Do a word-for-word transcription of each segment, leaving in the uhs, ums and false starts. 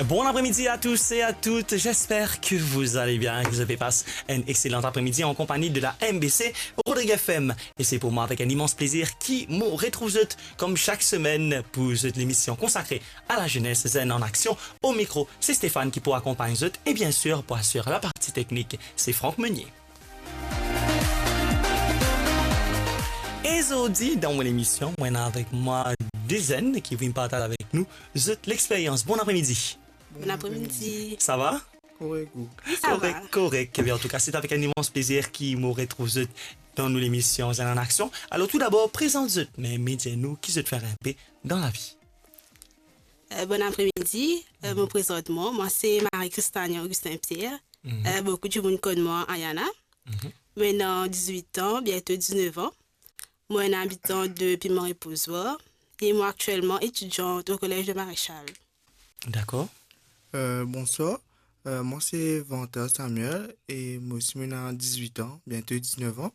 Bon après-midi à tous et à toutes, j'espère que vous allez bien, que vous avez passé un excellent après-midi en compagnie de la M B C Rodrigue F M. Et c'est pour moi avec un immense plaisir ki mo retrouv zot, comme chaque semaine, pour zot l'émission consacrée à la jeunesse, Zenn an Aksion. Au micro, c'est Stéphane qui pou akonpagn zot, et bien sûr, pour assurer la partie technique, c'est Franck Meunier. E zordi, dan mo lemision, mo ena avek mwa de zenn ki vinn partaz avek nou zot lexperyans. Bon après-midi. Bon après-midi. Sa va? Korek, ou? Wi, sa va. Korek, korek. Ebien, an tou ka, se avek enn imans plezir ki mo retrouv zot dan nou lemision Zenn an Aksion. Alor, tou dabor, prezant zot, me, me dir nou ki zot fer inpe dan lavi. Euh, bon après-midi. Euh, mo prezant mwa, mwa se Marie Christania Augustin Pierre. Mhm. Euh, boukou dimoun konn mwa Ayana. Mhm. Mo ena dizwit an, biento diznef an. Mo enn abitan de Piment Reposoir e mo aktielman etidiant au Collège de Maréchal. Dakor. Euh, bonswar. Euh, mwa se Vanta Samuel e mo osi mo ena dizwit an, biento diznef an.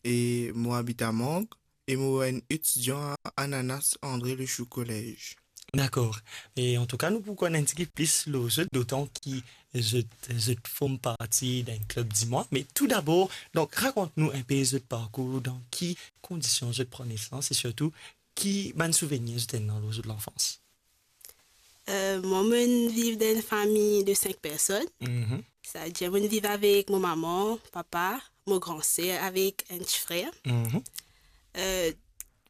E mo abit a Mang e mo enn etidian a Ananas André Lechou Collège. Dakor. E an tou ka, nou pou konn enn tigit plis lor zot, dotan ki zot, zot form parti dan enn klub dimwa. Me tou dabor, donk, rakont nou inpe zot parkour, dan ki kondision zot pran nesans e sirtou ki bann souvenir zot ena lor zot lanfans. Euh, mwa, mo'nn viv dan enn fami de sink personn. Mhm. Savedir mo'nn viv avek mo mama, papa, mo gran ser avek enn ti frer. Mhm. Euh,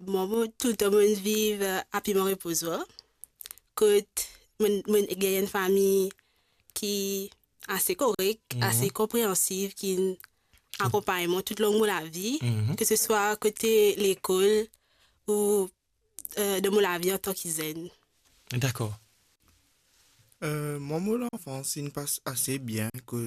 mwa, mo, toultan mo'nn viv, euh, a Piment Reposoir, kot mo'nn, mo'nn gagn enn fami ki ase korek, mhm, ase konpreansiv, ki'nn akonpagn mwa toutlong mo lavi, mhm, ke se swa kote lekol ou, euh, dan mo lavi antan ki zenn. Dakor. Euh, mwa, mo lanfans inn pas ase bien, kot